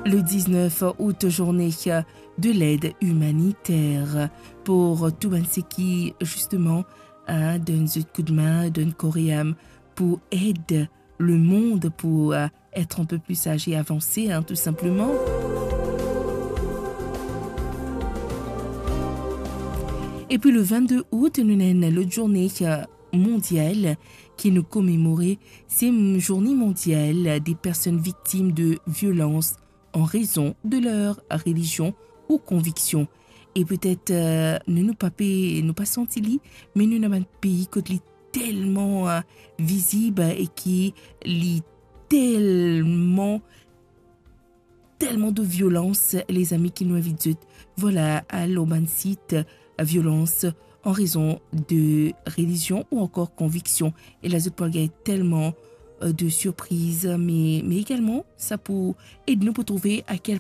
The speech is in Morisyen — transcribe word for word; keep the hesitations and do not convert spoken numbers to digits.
Le dix-neuf août, journée de l'aide humanitaire pour tout bann seki, justement, hein, donn zot koudmin, donn kor e am pou ed lemond pou, euh, être un peu plus sage et avancé, hein, tout simplement. Epi le vingt-deux août, nou ena enn lot zourne, euh, mondial ki nou komemore, se Zourne Mondial des Personnes Victimes de Violences en Raison de leur Religion ou Conviction. E petet, euh, nou, nou pa pe, nou pa santi li, me nou ena bann pei kot li telman, euh, vizib e ki li telman, telman de violans, lezami, ki nou invit zot, vwala, al lor bann sit, euh, violans en raison de religion ou ankor conviction. E la, zot pou al gagn telman, euh, de surpriz, me, me egalman, sa pou ed nou pou trouve a kel